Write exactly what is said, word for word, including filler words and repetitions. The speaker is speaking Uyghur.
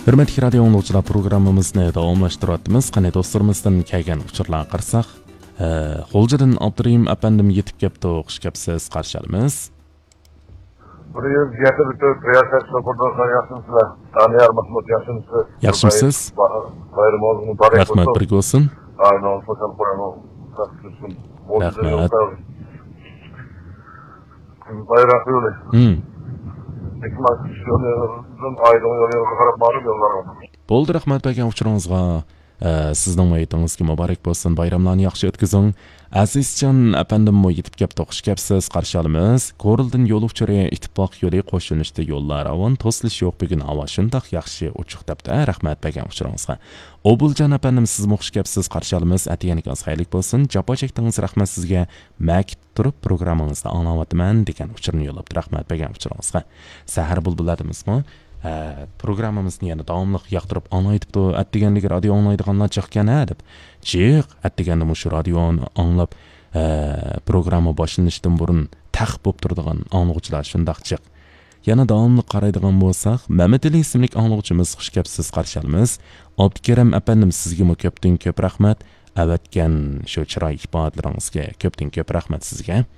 ھۆرمەتلىك رادىيو ئاڭلىغۇچىلار، پروگراممىمىزنى داۋاملاشتۇرۇۋاتىمىز. قېنى دوستلىرىمىزدىن كەلگەن ئۇچۇرلارغا قارىساق، ھە، غۇلجىدىن ئابدۇرېھىم ئەپەندىم يېتىپ كەپتۇ، خۇش كەپسىز، قارشى ئالىمىز. بىر يۈز يەتتە بىر تۆت رىياسەت شوپۇردىن ياخشىمسىلەر؟ دانىيار مەھمۇت ياخشىمسىز؟ ياخشىمسىز؟ بايرىمىڭىز مۇبارەك بولسۇن. رەھمەت، بىرگە بولسۇن. ئاينىڭىز خۇشال قۇرامۇ. رەھمەت. بايراق يولى. ھىم. ھېكمەت يولىدىن ئايدىڭ يولىغا قاراپ ماڭىدۇ يوللارغا. بولدى، رەھمەت بەرگەن ئۇچۇرىڭىزغا. ئە، سىزنىڭ ھېيتىڭىزگە مۇبارەك بولسۇن، بايراملارنى ياخشى ئۆتكۈزۈڭ. ئەزىزجان ئەپەندىممۇ يېتىپ كەپتۇ، خۇش كەپسىز، قارشى ئالىمىز. كورلىدىن يول ئۇچۇرى، ئىتتىپاق يولى، قوشۇلۇشتا يوللار راۋان، توسۇلۇش يوق بۈگۈن، ھاۋا شۇنداق ياخشى، ئوچۇق دەپتۇ. ھە، رەھمەت بەرگەن ئۇچۇرىڭىزغا. ئوبۇلجان ئەپەندىم، سىزمۇ خۇش كەپسىز، قارشى ئالىمىز. ئەتىگەنلىكىڭىز خەيرلىك بولسۇن، جاپا چەكتىڭىز، رەھمەت سىزگە. مەكىت تۇرۇپ پروگراممىڭىزنى ئاڭلاۋاتىمەن دېگەن ئۇچۇرنى يوللاپتۇ. رەھمەت بەرگەن ئۇچۇرىڭىزغا. سەھەر بۇلبۇللىرىمىزمۇ، ئە، پروگراممىمىزنى يەنە داۋاملىق ياقتۇرۇپ ئاڭلايتىپتۇ. ئەتىگەنلىكى رادىيو ئاڭلايدىغانلار جىقكەن ھە دەپ. جىق، ئەتىگەندە مۇشۇ رادىيونى ئاڭلاپ، ئە، پروگرامما باشلىنىشتىن بۇرۇن تەق بولۇپ تۇرىدىغان ئاڭلىغۇچىلار شۇنداق جىق. يەنە داۋاملىق قارايدىغان بولساق، مەمەتئېلى ئىسىملىك ئاڭلىغۇچىمىز، خۇش كەپسىز، قارشى ئالىمىز. ئابدۇكېرىم ئەپەندىم، سىزگىمۇ كۆپتىن كۆپ رەھمەت. ئەۋەتكەن شۇ چىراي ئىپادىلىرىڭىزگە كۆپتىن كۆپ رەھمەت سىزگە.